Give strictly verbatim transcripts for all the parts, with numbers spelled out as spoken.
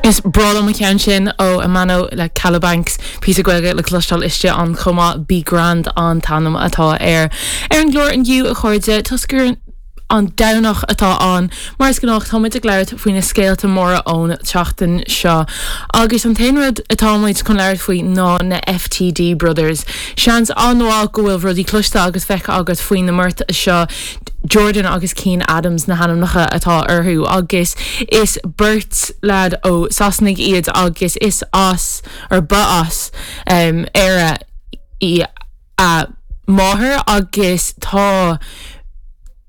Is breá liom an ceann sin ó Amano le Calabanks píosa Gaeilge le cloisteáil istigh ann chomh maith Be Grand an t-ainm atá air. Ar an gclár inniu a chairde toisc gur an Domhnach atá ann mar is gnách táimid ag labhairt faoi na scéalta móra ón tseachtain seo. Agus an t-aon rud atáimid chun labhairt faoi ná na FTD Brothers. Seans an-mhaith go bhfuil rudaí cloiste agus feicthe agat faoi na mbeirt seo Jordan agus Cian Adams na hainmneacha atá orthu agus is beirt leaid ó Sasana iad agus is as ar ba as um, Éire í a máthair agus tá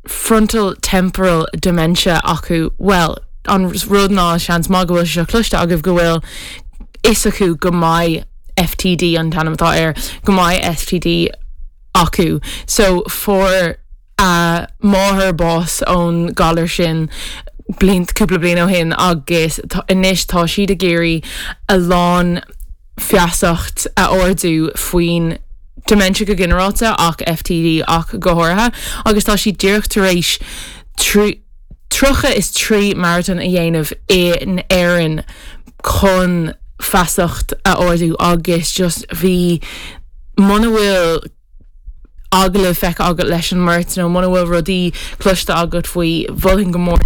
frontal temporal dementia acu well an rud ná seans maith go bhfuil seo cloiste agaibh go bhfuil fhios acu go mbeidh FTD an t-ainm atá air go mbeidh FTD acu so fuair a máthair bás ón galar sin bliain cúpla bliain ó shin agus anois tá siad ag iarraidh a lán feasacht a ardú faoin dementia go ginearálta ach FTD ach go háirithe agus tá siad díreach tar éis tríocha is trí marathon a dhéanamh in Éirinn chun feasacht a ardú agus just bhí muna bhfuil agallamh feicthe agat leis an mbeirt nó muna bhfuil rudaí cloiste agat faoi mholfainn go mór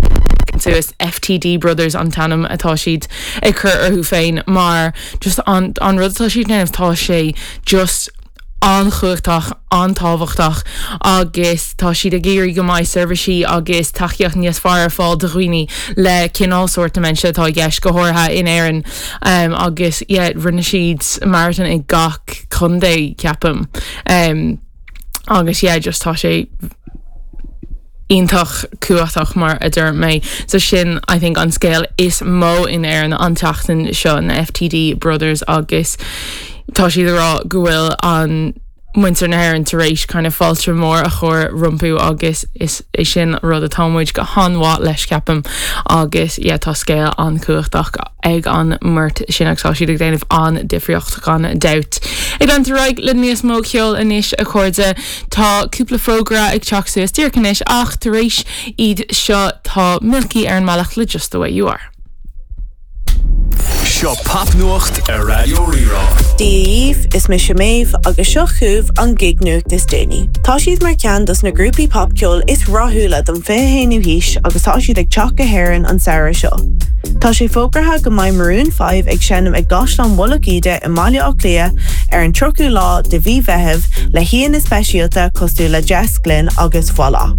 suas FTD Brothers an t-ainm atá siad ag cur orthu féin mar just an, an rud atá siad déanamh tá sé just an-chumhachtach an-tábhachtach agus tá siad ag iarraidh go mbeidh seirbhísí agus tacaíocht níos fearr ar fáil do dhaoine le cineál sórt dementia atá i gceist go háirithe in Éirinn um, agus yeah, rinne siad marathon i gach contae ceapaim. Um, agus yeah, just tá sé iontach cumhachtach mar a deir mé so sin I think an scéal is mó in Éirinn an tseachtain seo na FTD Brothers agus tá siad ag rá go bhfuil an muintir na hÉireann tar éis kind of fáilte mór a chur rompu agus is é sin rud atá muid go han-mhaith leis ceapaim agus yeah, tá scéal an-chumhachtach ag an mbeirt sin agus tá siad ag déanamh an difríocht gan dabht. Ag leanúint ar aghaidh le níos mó ceoil anois a chairde tá cúpla fógra ag teacht suas díreach anois ach tar éis iad seo tá Milky ar an mbealach le just the way you are. Seo popnuacht ar Raidió Rí-Rá. Dia daoibh is mise Méabh agus seo chugaibh an gig nuacht is déanaí. Tá siad mar cheann dos na grúpaí popcheoil is rathúla don fiche haonú haois agus tá siad ag teacht go hÉirinn an samhradh seo. Tá sé fógartha go mbeidh Maroon five ag seinm ag gCaisleán Mhullach Íde i mBaile Átha Cliath ar an tríochú lá de mhí Mheithimh le haíonna speisialta cosúil le Jess Glynne agus Voila.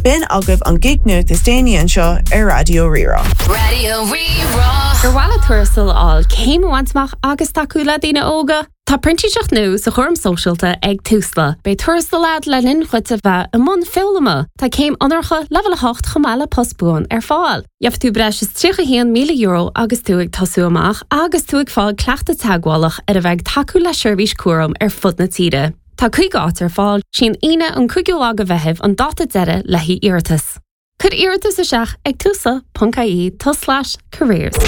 B'in agaibh an gig nuacht is déanaí anseo ar Raidió Rí-Rá. Raidió Rí-Rá. Ar mhaith leat tuarastal a fháil céim a bhaint amach agus tacú le daoine óga. Tá printíseacht nua sa chúram sóisialta ag Tusla. Beidh tuarastal agat le linn duit a bheith i mbun foghlama. Tá céim onóracha leibhéal a hocht chomh maith le post buan ar fáil. Gheobhaidh tú breis is tríocha haon míle euro agus tú ag tosú amach agus tú ag fáil cleachtadh teagmhálach ar a bheith tacú le seirbhís cúram ar fud na tíre. Tá cúig áit ar fáil is í an Aoine an cúigiú lá de Mheitheamh an dáta deiridh le iarratas. Cuir iarratas isteach ag tusla.ie slash careers.